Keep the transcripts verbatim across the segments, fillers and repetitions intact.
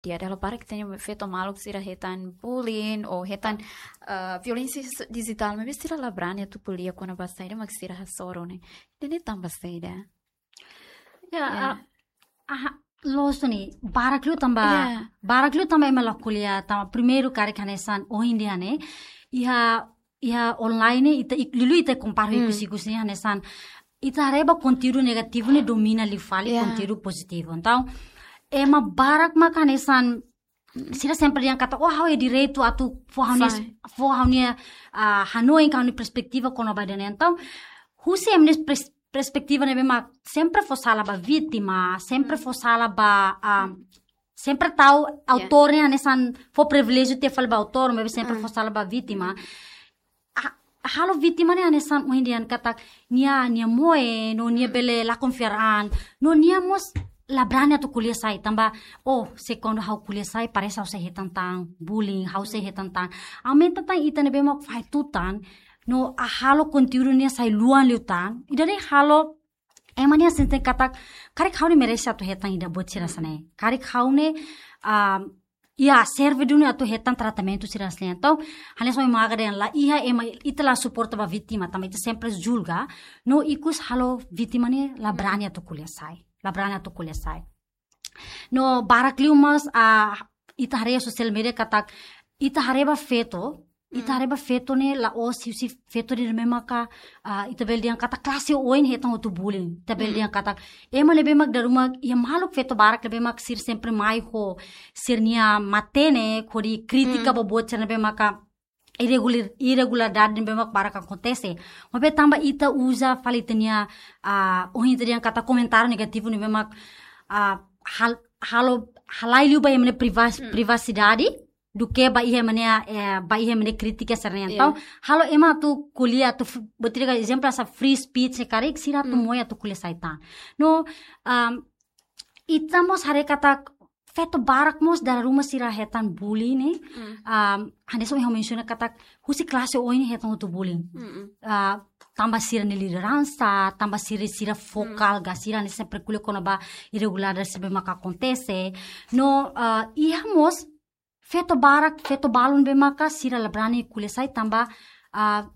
di'ak, dala barak ita-nia feto maluk sira hetan bullying ou hetan, ah, violénsia s-, dijitál, maibé sira la brani atu ko'alia kona-ba saida mak sira hasoru ne'e. Ida-ne'e tanba saida? Ya, Ya. ah, aha, loos ne'e, barak liu tanba, Ya. barak liu tanba ema la ko'alia, tanba primeiru karik hanesan ohin dehan ne'e, iha, iha online ne'e, ita ik-, liuliu ita kompara Hmm. ikus-ikus ne'e hanesan, ita haree ba konteúdu negativu ne'e domina liu fali Ya. konteúdu pozitivu. Entaun, ema barak mak hanesan, sira sempre dehan katak, "Oh, ha'u iha direitu atu fó ha'u-nia, Fai. fó ha'u-nia, ah, hanoin, ka ha'u-nia perspetiva kona-ba ida-ne'e." Entaun, husi ema nia pers-, perspetiva ne'ebé mak sempre fó sala ba vítima, sempre Mm. fó sala ba, ah, sempre tau Ya. autór ne'e hanesan fó priviléjiu tiha fali ba autór, maibé sempre Mm. fó sala ba vítima. Mm. Ah, halo vítima ne'e hanesan ohin dehan katak nia, nia moe, no nia Mm. bele la konfia an, no nia mós la brani atu ko'alia sai, tanba, oh, se kuandu ha'u ko'alia sai, parese ha'u sei hetan tan bullying, ha'u sei hetan tan. Aumenta tan ita ne'ebé mak fahe tutan, no halo konteúdu ne'e sai luan liután. Ida-ne'e halo, ema ne'e sente katak, karik ha'u ne'e merese atu hetan ida buat sira hanesan ne'e. Karik ha'u ne'e, ah, ya, serve duni atu hetan tratamentu sira hanesan ne'e. Entaun, hanesan ohin mak dehan la iha ema, ita la suporta ba vítima, tanba ita sempre julga, no ikus halo vítima ne'e la brani atu ko'alia sai. La brani atu ko'alia sai. No barak liu mós, ah, ita haree social media katak, ita haree ba feto, ita Mm. haree ba feto ne'e la'ós husi feto ne'ebé maka, ah, ita bele dehan katak klase oin hetan hotu bullying. Ita bele Mm. dehan katak ema ne'ebé mak dala ruma, iha maluk feto barak ne'ebé mak sira sempre mai ho sira-nia matenek, hodi krítika Mm. ba buat sira ne'ebé maka irregular-, irregularidade ne'ebé mak barak akontese. Maibé tanba ita uza fali ita-nia, ah, ohin ita dehan katak komentáriu negativu ne'ebé mak, ah, hal-, halo, halai liu ba ema nia priva-, Mm. privasidade, duké ba iha ema nia, eh, ba iha ema nia krítika sira-ne'e. Iya. Entaun, halo ema atu ko'alia atu f-, buat ida ezemplu hanesan free speech ne'e karik, sira atu Mm. moe atu ko'alia sai tan. No, um, ita mós haree katak feto barak mós dala ruma sira hetan bully ne'e. Mm. Um, hanesan ohin ha'u mensiona katak husi klase oin hetan hotu bullying. Mm-mm. Ah, tanba sira-nia lideransa, tanba sira, sira vokál, Mm. ka sira ne'e sempre ko'alia kona-ba irregularidade sira ne'ebé maka akontese. No, ah, iha mós feto barak, feto balun ne'ebé maka sira la brani ko'alia sai tanba, ah,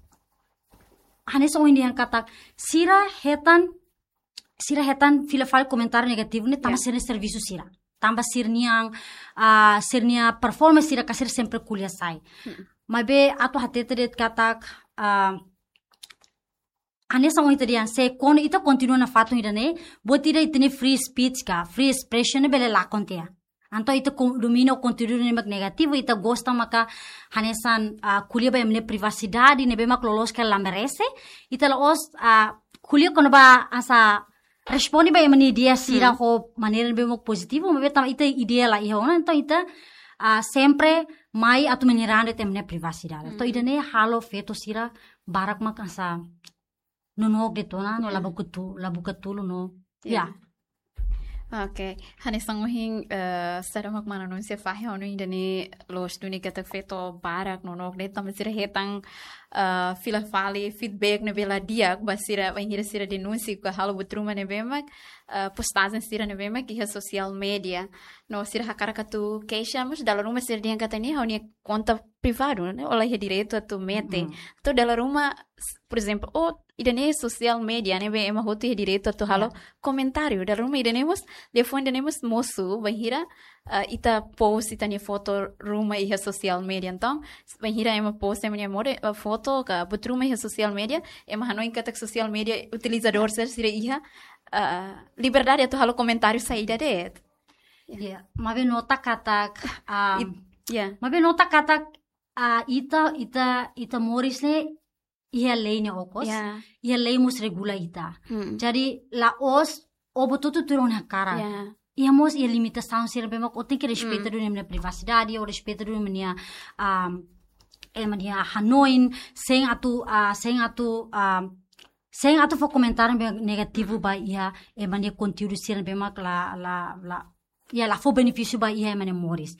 hanesan ohin dehan katak sira hetan, sira hetan fila fali komentáriu negativu ne'e tanba Ya. sira-nia servisu sira. Tanba sira-nia, ah, sira-nia performance sira ka sira sempre ko'alia sai. Hmm. Maibé atu hatete de'it katak, ah, hanesan ohin ita dehan, se kuandu ita kontinua nafatin ida-ne'e, buat ida ita-nia free speech ka, free expression ne'e bele lakon tiha. Entaun ita kon-, domina konteúdu ne'ebé mak negativu, ita gosta maka hanesan, ah, ko'alia ba ema nia privasidade, ne'ebé mak loloos karik la merese, ita la'ós, ah, ko'alia kona-ba hanesan responde ba ema nia ideia sira Hmm. ho maneira ne'ebé mak pozitivu, maibé tanba ita ideia la iha ona, entaun ita, ah, sempre mai atu menyerang de'it ema nia privasidade. Entaun Hmm. ida-ne'e halo feto sira barak mak hanesan nonook de'it ona, no Ya. la buka tu-, la buka tulun no. Ya. Ya. Oke, hanesan ohin, eh, saida mak mana Núncia fahe, ha'u hanoin ida-ne'e loos duni katak feto barak nonook de'it tanba sira hetan, eh, fila fali feedback ne'ebé la di'ak ba sira, bainhira sira denunsia ka halo buat ruma ne'ebé mak, eh, postajen sira ne'ebé mak iha social media. No sira hakarak atu keixa, mas dala ruma sira dehan katak ne'e ha'u-nia konta privadu, ne'e? Ó la iha direitu atu mete. Mm. Entaun dala ruma, s-, por ezemplu, ó, ida-ne'e social media, ne'ebé ema hotu iha direitu atu halo Ya. komentáriu. Dala ruma ida-ne'e mós, liafuan ida-ne'e mós mosu, bainhira, ah, ita post ita-nia foto ruma iha social media. Entaun, s-, bainhira ema post ema nia moris, ah, foto ka buat ruma iha social media, ema hanoin katak social media utilizadór sira, sira iha, ah, liberdade atu halo komentáriu saida de'it. Ya. Ya, maibé nota katak, ah, It-, ya. maibé nota katak, ah, ita, ita, ita moris ne'e iha lei nia okos, Ya. iha lei mós regula ita. Hmm. Jadi, la'ós ó buat hotu tuir ó-nia hakarak. Ya. Iha mós iha limitasaun sira ne'ebé mak ó tenke respeita Hmm. duni ema nia privasidade, ó respeita duni ema nia, ah, ema nia hanoin, sein atu, ah, sein atu, ah, sein atu fó komentáriu ne'ebé negativu ba iha ema nia konteúdu sira ne'ebé mak la, la, la, ya, la fó benefísiu ba iha ema nia moris.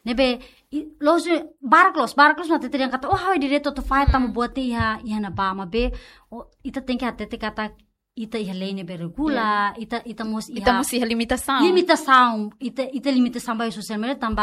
Ne'ebé, i, loos, barak loos, barak loos mak hatete dehan katak, ó, ha'u iha direitu atu fahe tanba Mm. buat ne'e iha, iha ne'ebá, maibé, ó, ita tenke hatete katak, ita iha lei ne'ebé regula, ita, ita mós Ita iha mós iha limitasaun. limitasaun, ita, ita limitasaun ba social media tanba